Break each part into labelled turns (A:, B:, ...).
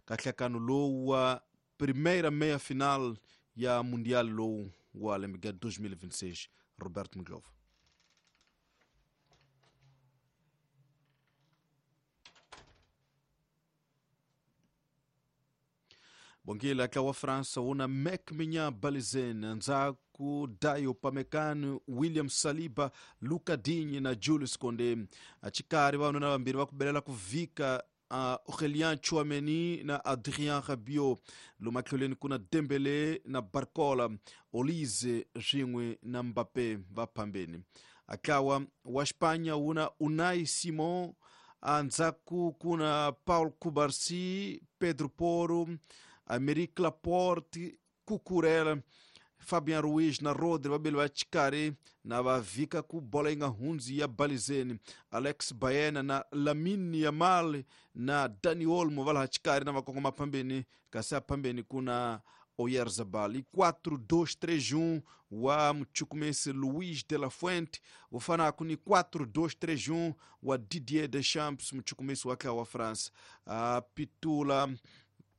A: Ka nhlakano lowu wa primeira meia final ya Mundial lowu wa lembe ga 2026. Roberto Mglova. Bongile ntlawa wa França wu na Mike Maignan Balizen, ndzhaku Dayo Upamecano, William Saliba, Luca Digne na Jules Koundé. Xikarhi vavanuna vambirhi va ku belela ku vhika Aurélien Tchouameni na Adrien Rabiot. Lomu matlhelweni ku na Dembélé na Barcola, Olise swin'we na Mbappé va phambeni. Ntlawa wa Espanha wu na Unai Simon, endzhaku ku na Paul Cubarsí, Pedro Porro, Aymeric Laporte, Cucurella, Fabian Ruiz na Rodri vabeli va xikarhi na va vhika ku bola yi nga hundzi ya balizeni. Alex Baena na Lamine Yamal na Dani Olmo va laha xikarhi na va kongoma phambeni, kasi a phambeni ku na Oyarzabal. I 4-2-3-1 wa muchukumesi Luis de la Fuente wu fanaka ni 4-2-3-1 wa Didier Deschamps, muchukumesi wa ntlawa wa France. Pitula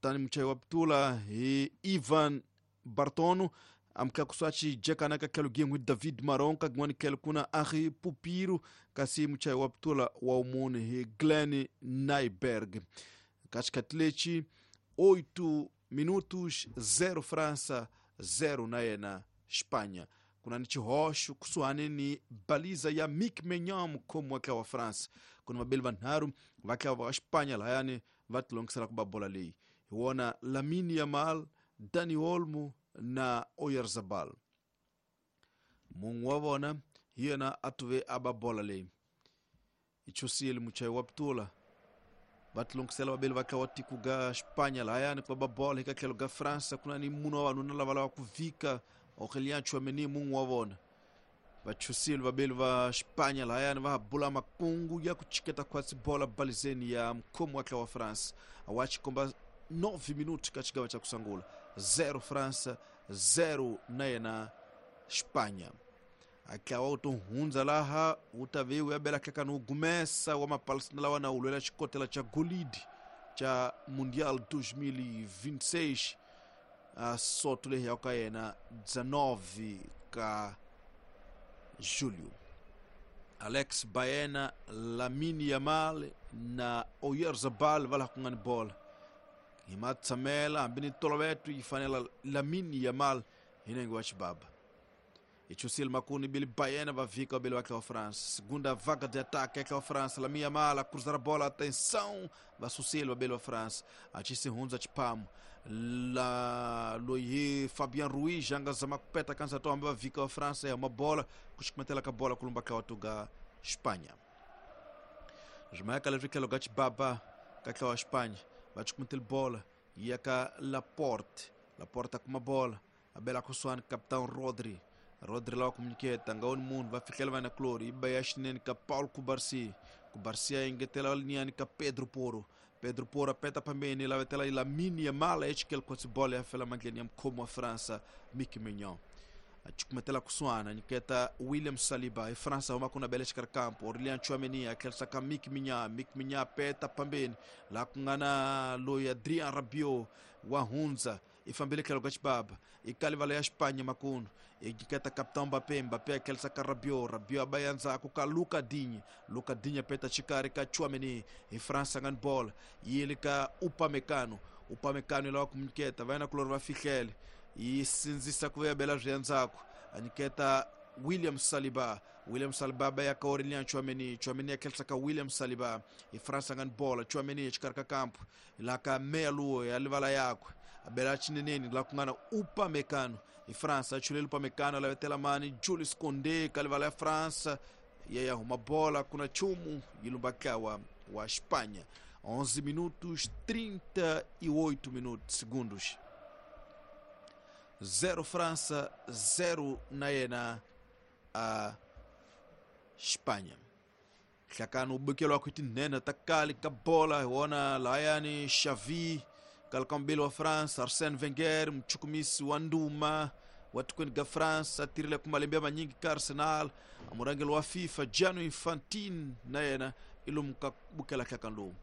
A: tani muchayi wa pitula hi Ivan Bartono, amutlakusi xijekana ka tlhelo gin'we David Maron, ka gin'wani tlhelo ku na Henri Pupiro, kasi muchayi wa pitula wa wumune hi Glenn Nyberg. Ka xikhathi lexi 8 minutos 0 França 0 na yena Espanha. Ku na ni xihoxo kusuhani ni baliza ya Mike Maignan, mukhomi wa ntlawa wa France. Ku na vabeli vanharhu va ntlawa wa Espanha lahayani va tilongisela ku ba bola leyi. Hi wona Lamine Yamal, Dani Olmo na Oyarzabal. Mun'we wa vona hi yena a tuve a ba bola leyi. I chusile muchayi wa pitula. Va tilongisela vabeli va ntlawa tiko ga Espanha lahayani ku va ba bola. Eka tlhelo ga França ku na ni munhu wa vanuna lava lava ku vhika Aurélien Tchouameni, mun'we wa vona. Va chusile vabeli va Espanha lahayani va ha bula makungu ya ku chiketa khwatsi bola balizeni ya mukhomi wa ntlawa wa France. A wa xikomba 9 minutos ka xigava xa ku sungula, 0 França 0 na yena Espanha. Ntlawa wu to hundza laha wu ta ve wu ya bela nhlekani wu gumesa wa mapalestina lawa na wu lwela xikotela xa golidi xa Mundial 2026 a soto leyi ya ka yena 19 ka Julho. Alex Baena, Lamine Yamal na Oyarzabal va laha ku nga ni bola. Hi matshamela hambi ni toloveto yi fanela Lamine Yamal hi nenge wa xibaba. I chusile makuni Billy Baena va vhika Billy wa wa France. Segunda vaga de ataque é wa France. Lamine Yamal a cruzar a bola, atenção, va susile va Billy wa France. A ci se hundza xiphamo. La loyi Fabian Ruiz a nga zama ku peta kansa to hambi va vhika wa France ya bola ku xikumetela ka bola ku lumba tlawa tuga Espanha. Swimayaka leswi tlhelo ka xibaba ka tlawa Espanha va xikumetela bola yi ya ka Laporte. Laporte a kuma bola a bela kusuhani capitão Rodri. Rodri lava ku nyiketa nga woni munhu va fihlela va na Clori yi ba ya xinene ka Paul Cubarsí. Cubarsí a engetela liniyani ka Pedro Porro. Pedro Porro apeta phambeni lavetela Lamine Yamal echikele khotsi bola ya fela mandleni ya mukhomi wa França Mike Maignan. A chukumetela kusuhana nyiketa William Saliba. Hi França huma ku na bele xikarhi kampo Aurélien Tchouameni a tlherisa ka Mike Maignan. Mike Maignan peta phambeni laha ku nga na loyi Adrien Rabiot wa hundza i fambile tlhelo ka xibaba i kalivala ya Espanha makunu i nyiketa capitão Mbappé. Mbappé a tlherisa ka Rabiot. Rabiot a ba ya ndzhaku ka Luca Digne. Luca Digne peta xikarhi ka Tchouameni. Hi France nga ni bola yi le ka Upamecano. Upamecano yi lava ku nyiketa va yena kulori va fihlele yi sindzisa ku ya bela swi ya ndzhaku a nyiketa William Saliba. William Saliba ba ya ka Aurélien Tchouameni. Tchouameni a tlherisa ka William Saliba. Hi France nga ni bola Tchouameni exikarhi ka kampo laha ka meya luwo ya livala yakwe a bela xineneni laha ku nga na Upamecano. Hi France a chulele Upamecano a lavetela mani Jules Koundé ka livala ya France ya ya huma bola ku na nchumu yi lumba ntlawa wa Espanha. 11 minutos 38 minutos segundos, 0 França 0 na yena a Espanha. Nhlakano wu bukeliwa ku tinhenha ta kale ka bola hi wona lahayani Xavi kalakambeli wa France, Arsène Wenger muchukumisi wa nduma wa tikweni ga France a tirhile ku malembe ya manyingi ka Arsenal, a murhangeri wa FIFA Gianni Infantino na yena i lomu ka bukela nhlakano lowu.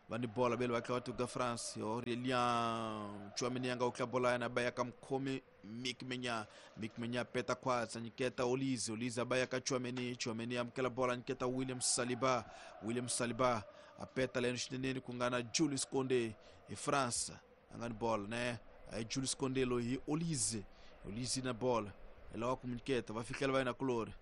A: Va ni bola vele va tlha va tuka France Aurelien Tchouameni a nga utla bola yana ba ya ka mukhomi Mik Menya. Mik Menya peta khwatsa nyiketa Olise. Olise a ba ya ka Tchouameni. Tchouameni amukela bola nyiketa William Saliba. William Saliba a peta leno xineneni ku nga na Jules Koundé hi France a nga ni bola ne a hi Jules Koundé loyi hi Olise. Olise na bola hi lava ku nyiketa va fihlela va yena kulori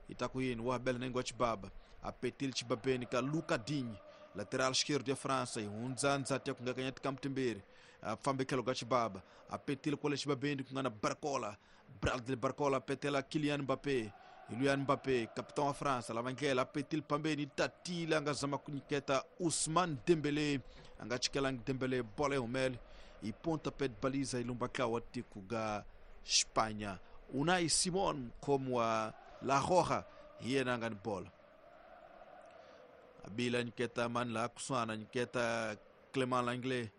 A: yi ta ku yini wa bela nengo wa Chibaba a petile Chibabeni ka Luca Digne lateral esquerdo ya França yi hundza ndzati ya ku ngakanya tikambu timbirhi a fambe tlhelo ka Chibaba a petile kwale Chibabeni ku nga na Barcola. Bradley Barcola a petela Kylian Mbappé. Kylian Mbappé capitão wa França lava ndlela a petile pambeni tatile a nga zama ku nyiketa Ousmane Dembélé a nga chikelangi Dembélé bola yi humele yi pontapé de baliza yi lumba tlawa tiko ga Espanha. Unai Simon mukhomi wa La Roja hi yena a nga ni bola abila nyiketa mani laha kusuhana nyiketa Clement Lenglet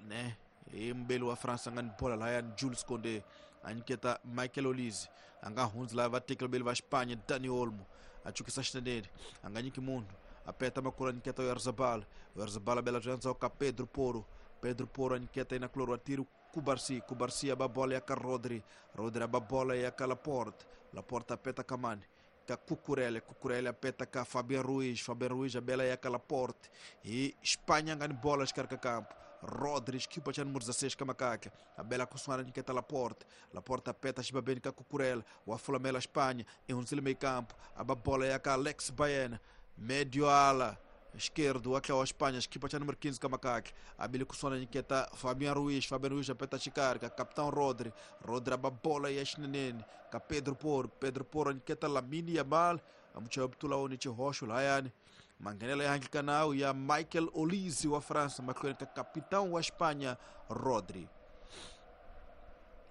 A: ne hi mubeli wa France a nga ni bola lahayani Jules Koundé a nyiketa Michael Olise a nga hundzi laha va tekela beli va Espanha Dani Olmo a chukisa xineneni a nga nyiki munhu a peta makulu a nyiketa Oyarzabal. Oyarzabal a bela bya ndzhaku ka Pedro Porro. Pedro Porro a nyiketa yena kulori wa tiri Cubarsí. Cubarsí a ba bola ya ka Rodri. Rodri a ba bola ya ka Laporte. Laporte a peta ka mani ka Cucurella. Cucurella a peta ka Fabian Ruiz. Fabian Ruiz a bela ya ka Laporte. E Espanha nga ni bola xikarhi ka campo. Rodri xikipa xa número 16 ka makaka a bela kusuhana nyiketa Laporte. Laporte a peta xibabeni ka Cucurella wa fulamela Espanha i hundzile meio campo a ba bola ya ka Alex Baena medio ala esquerdo wa tlhawa Espanha xikipa xa número 15 ka makaka a bile kusuhana nyiketa Fabian Ruiz. Fabian Ruiz a peta xikarhi ka capitão Rodri. Rodri a ba bola ya xineneni ka Pedro Porro. Pedro Porro nyiketa Lamine Yamal a muchaya butula oni xihoxo lahayani manghenelo ya handle ka nawu ya Michael Olise wa France mahlweni ka capitão wa Espanha Rodri.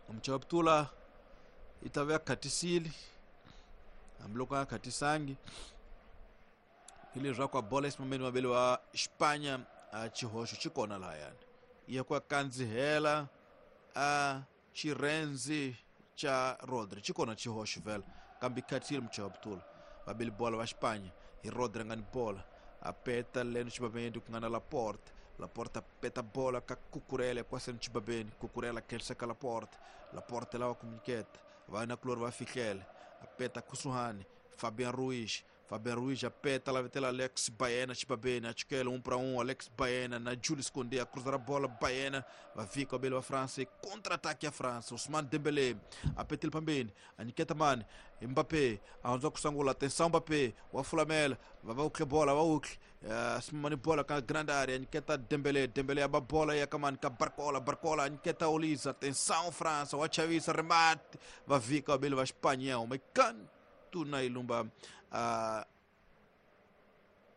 A: Muchaya butula yi ta va ya khatisile hambiloko a nga khatisangi hi leswaku a bola esimameni mavele wa Espanha a xihoxo xi kona lahayani ya ku kandzihela a xirhendzi xa Rodri xi kona xihoxo vhela kambe khatisile muchaya butula vabeli bola va Espanha hi Rodri a nga ni bola a peta leno xibabeni ku nga na Laporte. Laporte a peta bola ka Cucurella kwaseni xibabeni Cucurella khensa ka Laporte. Laporte lava ku nyiketa va na kulori va fihlela a peta kusuhani Fabian Ruiz. Fabian Ruiz a peta la vetela Alex Baena xibabeni a chukela 1 para 1 Alex Baena na Jules Koundé a cruzar a bola Baena va vika o belo wa France contra-ataque ya France Ousmane Dembélé a petile pambeni a nyiketa mani Mbappé a hundza ku sangula atenção Mbappé wa fulamela va va ukhle bola va ukhle simamani bola ka grande área nyiketa Dembélé. Dembélé a ba bola ya ka mani ka Barcola. Barcola nyiketa Olise atenção France wa chavisa remate va vika o belo wa Espanha uma canto na ilumba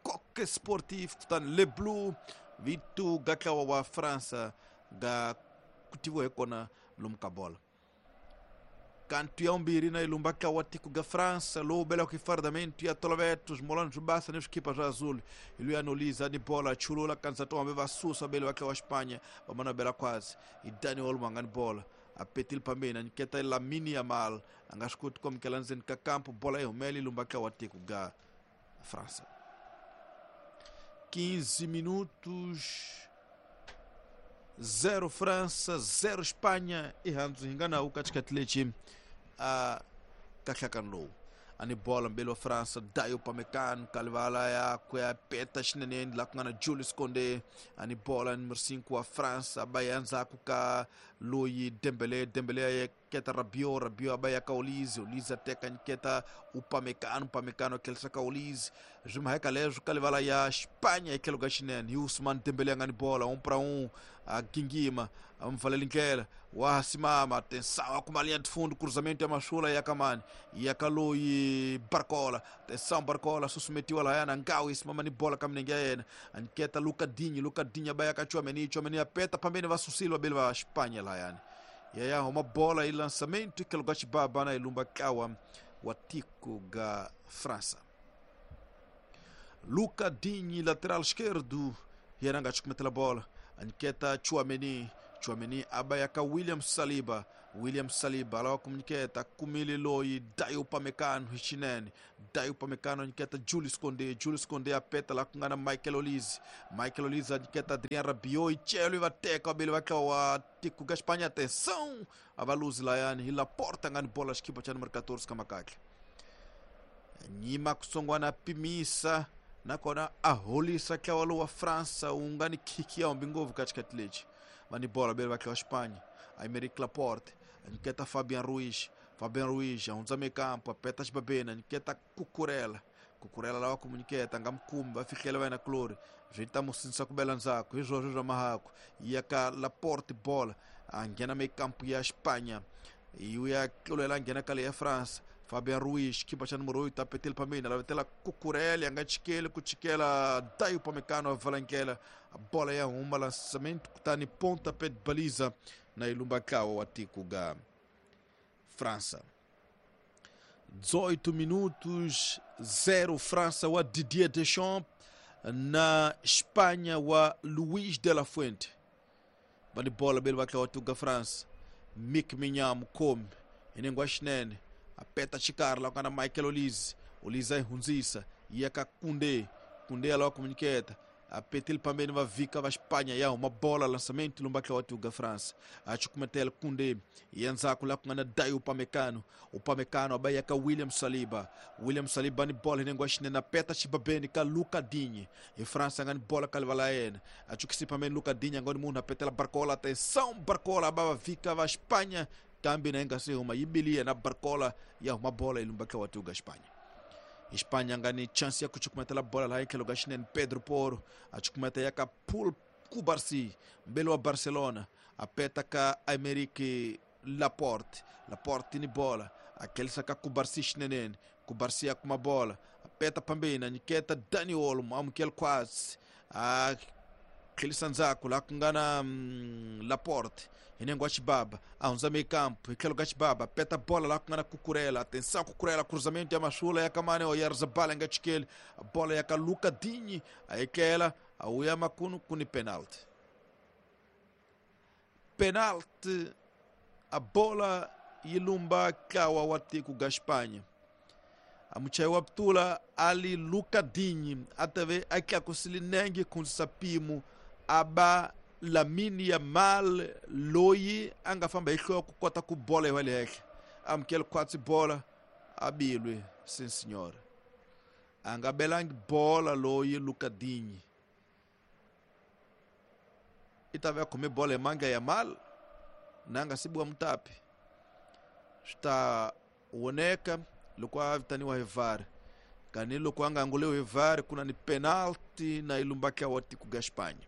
A: Coque Sportif kutani Le Bleu vitu ga tlawa wa France ga kutiwa hi kona lomu ka bola kantu ya umbirhi na ilumba tlawa tiko ga France lowu belaka hi fardamento ya toloveto swimolani swo basa ni swikipa swa azul hi luya noliza ni bola chulula kanisa tombe va susa bele va tlawa Espanha va mana bela khwatsi hi Dani Olmo a nga ni bola a petile pambeni a nyiketa Lamine Yamal a nga swi koti ku amukela ndzeni ka kampo bola yi humele yi lumba tlawa tiko ga França. 15 minutos 0 França 0 Espanha i handzu hi nga nawu ka xikhathi lexi a ka nhlakano lowu a ni bola mbeli wa France Dayo Upamecano kalivala ya ku ya peta xineneni laha ku nga na Jules Koundé a ni bola numero 5 wa France a ba ya ndzhaku ka loyi Dembélé. Dembélé a keta Rabiot. Rabiot a ba ya ka Olise. Olise a teka nyiketa Upamecano. Upamecano a tlherisa ka Olise swi mhaka leswo ka livala ya Espanha hi tlhelo ka xinene hi Ousmane Dembélé a nga ni bola 1 para 1 a gingima a mupfaleli ndlela wa simama atenção a kuma linha de fundo cruzamento ya masula ya kamani ya ka loyi Barcola atenção Barcola susumetiwa lahayana ngawu isimama ni bola ka minenge ya yena a nyiketa Luca Digne. Luca Digne a ba ya ka Tchouaméni. Tchouaméni a peta pambeni va susile vabeli va Espanha lahayani yaya huma bola i lançamento ikelo ga xibaba na ilumba tlawa wa tiko ga França. Luca Digne lateral esquerdo yena nga chukumetela bola a nyiketa Tchouaméni. Tchouaméni a ba ya ka William Saliba. William Saliba lava ku nyiketa kumile loyi Dayo Upamecano hi xinene. Dayo Upamecano nyiketa Julius Koundé, Julius Koundé a peta laha ku nga na Michael Olise, Michael Olise a nyiketa Adrien Rabiot, yi celo yi va teka vabeli va tlawa wa tiko ka Espanha. Atenção, a va luzi layani hi Laporte a nga ni bola xikipa xa numero 14 ka makahle. Nyima kutsongwana pimisa nakona a holisa ntlawa lowu wa Fransa wu nga ni khiki ya humbi ngopfu ka xikati lexi. Va ni bola vabeli va tlawa Espanha. Aymeric Laporte a nyiketa Fabian Ruiz, Fabian Ruiz a hundza mekampo a peta xibabeni a nyiketa Cucurella, Cucurella lava ku mu nyiketa nga mukumi va fihlela va yena kulori swi ta mu sindzisa ku bela ndzhaku hi swoswo swa mahaku ya ka Laporte bola a nghena mekampo ya Espanha yi ya tlulela a nghena ka le ya France. Fabian Ruiz xikipa xa numero 8 a petele phameni a lavetela Cucurella a nga chikeli ku chikela Dayo Upamecano a vala ndlela bola ya huma lançamento kutani pontapé de baliza na ilumba ntlawa wa tiko ga França. 18 minutos 0 França wa Didier Deschamps na Espanha wa Luis de la Fuente. Va ni bola beli va tlawa tiko ga France. Mike Maignan mukhomi hi nengwa xinene a peta xikarhi laha ku nga na Michael Olise, Olise a yi hundzisa yi ya ka Koundé, Koundé a lava ku mu nyiketa a petile pambeni va vhika va Espanha ya huma bola lançamento lomba tlawa tiko ga France. A chukumetela Koundé ya ndzhaku laha ku nga na Dayo Upamecano, Upamecano a ba ya ka William Saliba, William Saliba ni bola hi nengwa xinene a peta xibabeni ka Luca Digne. Hi France a nga ni bola ka livala yena a chukisi pambeni Luca Digne a nga ni munhu a petela Barcola. Atenção, Barcola a ba va vhika va Espanha kambe na yi nga se huma yi bile yena Barcola ya huma bola yi lumba tlawa tiko ga Espanha. Espanha nga ni chance ya ku chukumetela bola laha tlhelo ka xinene Pedro Porro a chukumeta ya ka Paul Cubarsí mbeli wa Barcelona a peta ka Aymeric Laporte, Laporte ni bola a tlhelisa ka Cubarsí xinenene, Cubarsí a kuma bola a peta phambeni a nyiketa Dani Olmo amukela quase a tlhelisa ndzhaku laha ku nga na Laporte hi nengo wa xibaba a hundza mekampo hi tlhelo ka xibaba peta bola laha ku nga na Cucurella. Atenção, Cucurella, cruzamento ya masula ya kamane Oyarzabal a nga chikeli bola ya ka Luca Digne a yekela a wuya makunu ku ni penalty. Penalty a bola yi lumba ntlawa wa tiko ga Espanha. A muchayi wa putula ali Luca Digne a tave a tlakusile nenge ku hundzisa mpimo a ba Lamine Yamal loyi a nga famba hi nhloko ku kota ku bola yi wa le henhla amukele khwatsi bola a bilwe sin senhora a nga belangi bola loyi Luca Digne i ta va a khome bola hi mandla Yamal na nga sibiwa mutapi swi ta voneka loko a vitaniwa hi VAR kani loko a nga anguliwi hi VAR ku na ni penalty na yi lumba ntlawa wa tiko ga Espanha.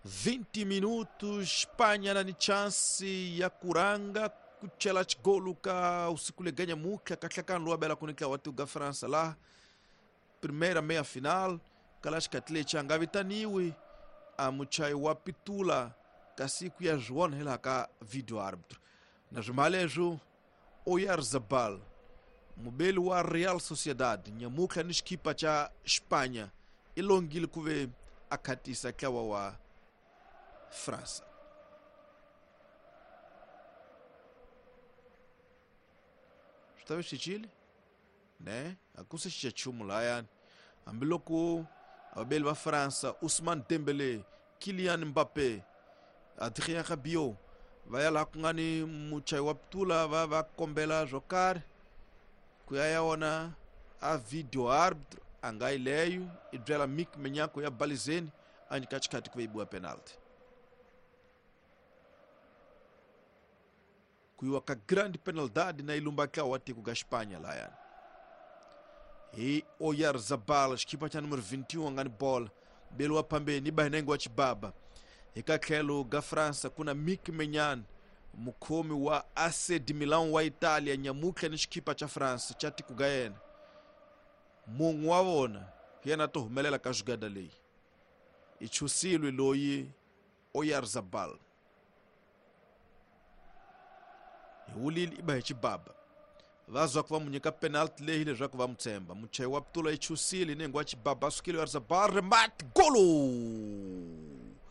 A: 20 minutos Espanha na ni chance ya kuranga ku chela xigolu ka usiku leganya mutlha kahlakani lowu abela ku ni ntlawa wa tiko ga França laha primeira meia final kala xikati lexi a nga vitaniwi a muchayi wa pitula kasi ku ya swi vona hi laha ka video arbitro na swimha leswo Oyarzabal mubeli wa Real Sociedad nyamutlha ni xikipa xa Espanha i longile ku ve a khatisa ntlawa wa Fransa. Swi ta ve swi cincile ne a ku se cinca nchumu lahayani hambiloko vabeli va Fransa Ousmane Dembele, Kylian Mbappe, Adrien Rabiot va ya laha ku nga ni muchayi wa putula va va kombela swo karhi ku ya ya wona a video arbitro a nga yi leyo i byela Mike Maignan ya balizeni a nyika xikhati ku ve yi biwa penalty ku yiwa ka grande penalidade na ilumba ntlawa wa tiko ga Espanha lahayani hi Oyarzabal xikipa xa numero 21 nga ni bola beliwa phambeni i ba hi nenge wa xibaba hi ka tlhelo ga Fransa ku na Mike Maignan mukhomi wa AC de Milan wa Italia nyamutlha ni xikipa xa France xa tiko ga yena mun'we wa vona hi yena to humelela ka jugada leyi i chusilwe loyi Oyarzabal hi wulile i ba hi xibaba va zwa ku va mu nyika penalty leyi leswaku va mu tshemba muchayi wa putula i chusile hi nenge wa xibaba a sukile Oyarzabal remate golo.